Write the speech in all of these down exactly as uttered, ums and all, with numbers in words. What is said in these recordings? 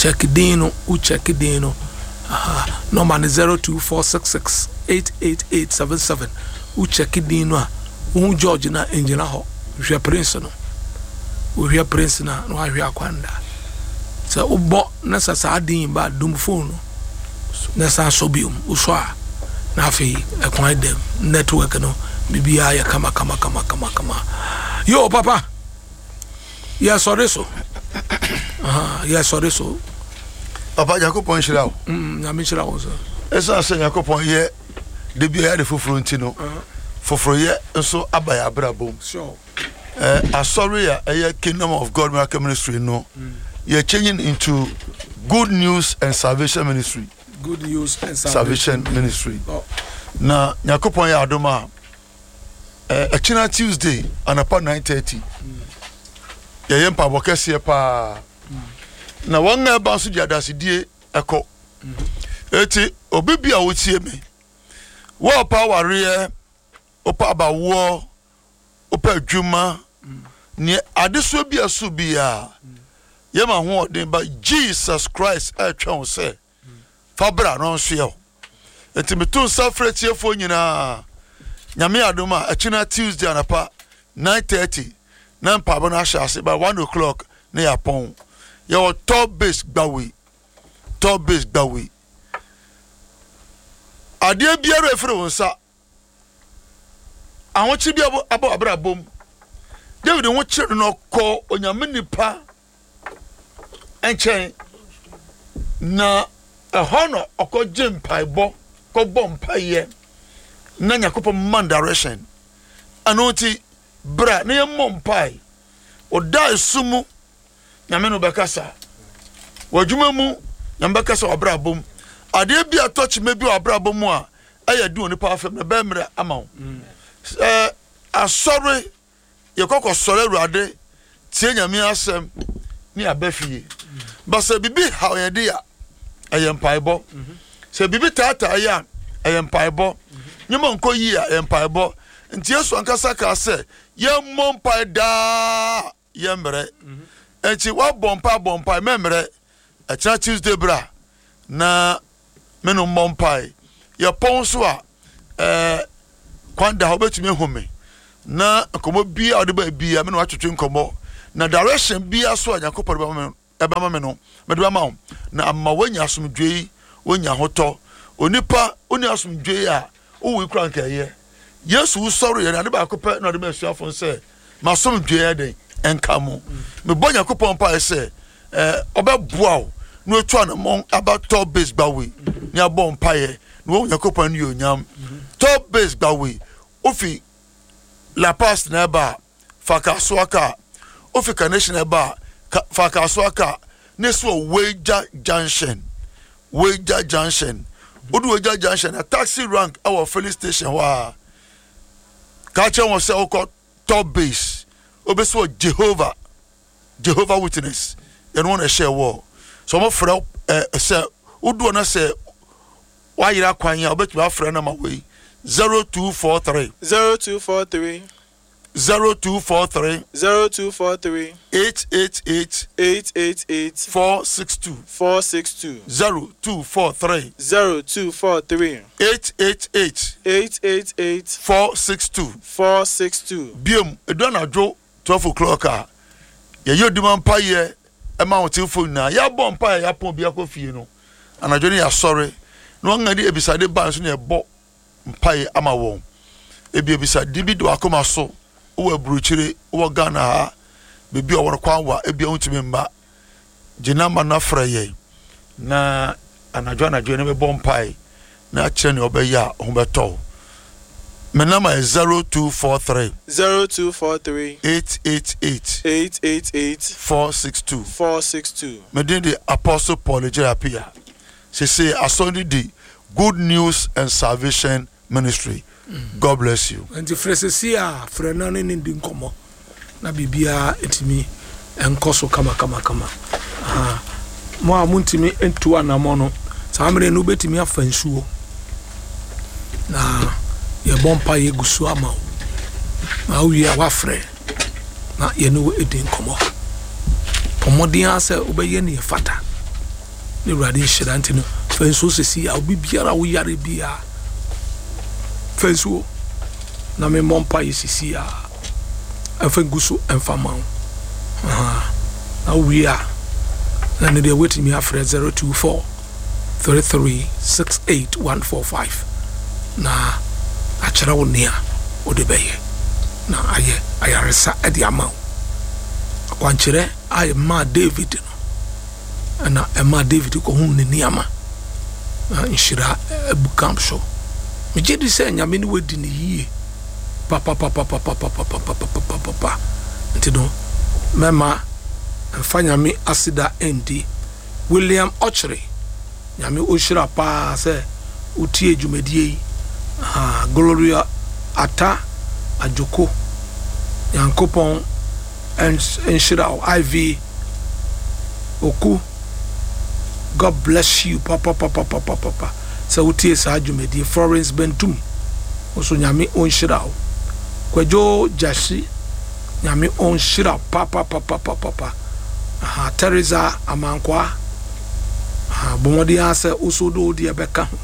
Check din no, wo check din no. Aha, nɔma no zero two four six six eight eight eight seven seven. Wo check din no a, wohu George na ngyina hɔ. Hwɛ Prince no. Wohwɛ Prince no a, na wahwɛ Akwanda. Sɛ wobɔ na sɛ saa din ba a, dum phone no na san sɔ biom. Wosɔ a, na afei ɛkwan dam. Network no, biribiara yɛ kama kama kama kama kama. Yo, papa, yɛsɔre so. Aha, yɛsɔre so. Papa, Nyankopɔn nhyira wo. Mm, Nyame nhyira wo so. Ɛsiane sɛ Nyankopɔn yɛ da bi a yɛade foforɔ nti no, foforoyɛ nso aba yɛ abrabɔ mu. Sure. Eh, asɔre a ɛyɛ Kingdom of God Miracle Ministry no, mm. yɛ changing into Good News and Salvation Ministry. Good News and Salvation, Salvation Ministry. Oh. Na Nyankopɔn yɛ adom a, eh, ɛkyena Tuesday anapa nine thirty, mm. yɛyɛ mpaebɔ kɛseɛ paa. Mm. Na wɔn a ɛba nso de adasedie ɛkɔ. Mm. Eti obi bi a wotie me, wɔɔpa awareɛ, wopɛ abawoɔ, wopɛ adwuma, neɛ adesoa bi a so biara, yɛma ahoɔden ba Jesus Christ ɛretwɛn wo sɛ fa bra na ɔnsoɛ wo. Nti meto nsa frɛ tiefoɔ nyinaa, Nyame adom a ɛkyena Tuesday anapa nine thirty na mpaebɔ no ahyɛ ase, by one o'clock na yɛapɔn. Yɛwɔ Top Base Gbawe, Top Base Gbawe. Adeɛ biara ɛfiri wo nsa, ahokyere bi abɔ abrabɔ mu. David ho kyerɛ no na ɔkɔ Onyame nipa nkyɛn, na ɛhɔ na ɔkɔgye mpaebɔ, kɔbɔ mpaeɛ na Nyankopɔn ma no direction. Ɛno nti bra na yɛmmɔ mpae. Ɔda esu mu Nyame no bɛkasa. W'adwuma mu Nyame bɛkasa w'abrabɔ mu. Adeɛ bi a ɛtɔ kyima bi wɔ abrabɔ mu a ɛyɛ den onipa afam na ɛbɛyɛ mmerɛ ama wo. Sɛ asɔre yɛkɔ kɔsɔre Awurade, tie Nyame asɛm ne aba fie. Ba sɛ biribi haw yɛn de a, ɛyɛ mpaebɔ. Sɛ biribi taataa yɛ a, ɛyɛ mpaebɔ. Nneɛma nkɔ yie a, ɛyɛ mpaebɔ. Nti Yesu ankasa kaa sɛ yɛmmɔ mpae daa, yɛmmerɛ. Nti woabɔ mpae abɔ mpae, mɛmmerɛ. Ɛkyena Tuesday bra na me no mmɔ mpae. Yɛpɔn so a, ɛɛ kwan da hɔ wobɛtumi ahu me na nkɔmmɔ biara a wode ba biara me na watwetwe nkɔmmɔ, na direction biara so a Nyankopɔn de bɛma me ɛbɛma me no mede bɛma wo, na ama woanya asomdwoe, woanya ahotɔ. Onipa wonni asomdwoe a, wowui koraa nka ɛyɛ. Yesu wusɔreɛ no, ade baako pɛ na ɔde ma asuafo no sɛ, m'asomdwoe yɛ dɛn ɛnka mo. Mebɔ Nyankopɔn mpaeɛ sɛ eh, ɔbɛboa wo na watu anammɔn aba Top Base Gbawe ne abɔ mpaeɛ na wahu Nyankopɔn animuonyam. Top Base Gbawe, wofi La Paz na ɛba a, fa Kasoa kaa. Wofi Carnation na ɛba a, fa Kasoa kaa na esi wɔ Weija Junction. Weija Junction. Wodu Weija Junction na taxi rank ɛwɔ filling station hɔ a, ka kyerɛ wɔn sɛ wokɔ Top Base, wobɛsi wɔ Jehovah Jehovah Witness, yɛne wɔn na ɛhyɛ wɔ. Sɛ wɔfrɛ ɛ sɛ wodu hɔ na sɛ wayera kwan a, wobɛtumi afrɛ nama wei zero two four three zero two four three zero two four three zero two four three eight eight eight eight eight eight four six two four six two zero two four three zero two four three eight eight eight eight eight eight four six two four six two. Biom, edu anadwo twelve o'clock a, yɛyɛ odima mpaeɛ ɛma ahotefoɔ nyinaa. Yɛabɔ mpaeɛ yɛapɔn obi akɔ fie no, anadwo no yɛasɔre na wɔn a de abisade ba nso na yɛbɔ mpaeɛ ama wɔn. Ebi abisade bi da wakoma so, wowɔ aburokyire, wowɔ Ghana ha, baabi a wɔn kwan wa, ebi a wontumi mma. Gye namba no frɛ yɛn na anadwo anadwo yɛne bɛbɔ mpae na akyerɛ nea ɔbɛyɛ a ho bɛtɔ wo. Me namba yɛ zero two four three zero two four three eight eight eight eight eight eight four six two. four six two. Me din de Apostle Paul Agyei Appiah. Sese asɔre no di Good News and Salvation Ministry. God bless you. Nti frɛ sese a frɛ na ne ne di nkɔmmɔ na biribiara ntumi nkɔ so kama kama kama. Aha. Mo a montumi ntu anammɔ no, saa mmerɛ no wobɛtumi afa nsuo na yɛbɔ mpa yɛgu so ama wo. Na wowie a woafrɛ na yɛne wo adi nkɔmmɔ. Bɔ mmɔden ara sɛ wobɛyɛ nea ɛfata. Ne Awurade nhyira nti no, fa nsuo sisi a obi biara a woyare biara, fa nsuo na memmɔ mpa yɛ sisi a ɛmfa ngu so ɛmfa ma wo. Aha. Na wowie a, na ne deɛ woatumi afrɛ zero two four three three six eight one four five na akyerɛ wo nea wode bɛyɛ na ayɛ ayaresa de ama wo. Akwankyerɛ a ɛmaa David no, ɛna ɛmaa David kɔhunu ne nneɛma na nhyira abu kam so. Megye di sɛ Nyame ne wadi ne yie papapapapapapapapapapapa. Nti no, mɛma mfa Nyame aseda ndi. William Ɔkyere, Nyame ɔhyira paa sɛ wotie dwumadie yi. Aha, Gloria Ata Adwoko, Nyankopɔn nhyira wo. Iv Oku, God bless you papapapapapapa sɛ wotie saa dwumadie. Florence Bentum nso, Nyame ɔnhyira wo. Kwadwo Gyasi, Nyame ɔnhyira wo papapapapapa. Aha, Teresa Amankwaa, aha, bɔ mmɔden ara sɛ woso de wo deɛ bɛka ho.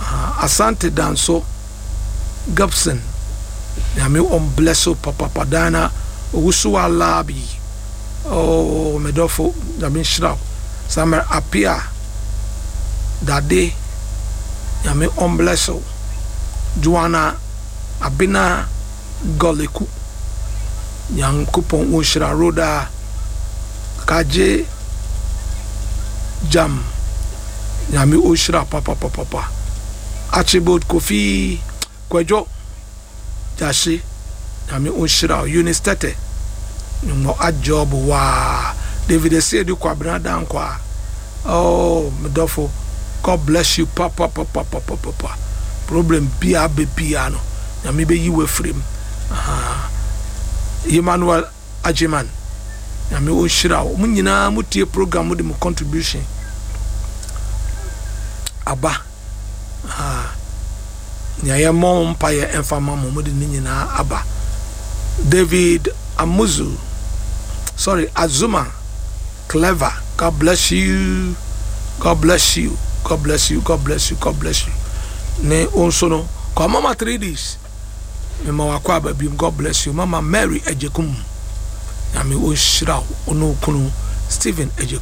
Aha, Asante Danso Gibson, Nyame ɔn bless wo papapa. Dana Owusu Alabi, oh, medɔfo, Nyame nhyira wo. Samuel Apia Dade, Nyame ɔn bless wo. Joanna Abena Gɔleku, Nyankopɔn ɔnhyira. Roda Kagye Jam, Nyame ɔnhyira papapapapa. Archibald Kofi Kwadwo Gyahye, Nyame ɔnhyira wo. Eunice Tete nwɔ adjob waa. David Esiedu Kwabena Dankwa, oh, medɔfo, God bless you papapapapapapa. Problem biara bɛ biara no, Nyame bɛyi wo afiri mu. Aha. Emmanuel Agyeman, Nyame ɔnhyira wo. Mo nyinaa motie program, mo de mo contribution aba. Aha. Nea yɛmmɔ mpayɛ ɛmfa ma mo, mode ne nyinaa aba. David Amuzu, sorry, Azuma Clever, God bless you, God bless you, God bless you, God bless you, God bless you. Ne wo nso no kɔ mama three days mema wakɔ aba biom. God bless you. Mama Mary Agyekum, Nyame ɔnhyira wo, ɔne wo kunu Stephen Agyekum.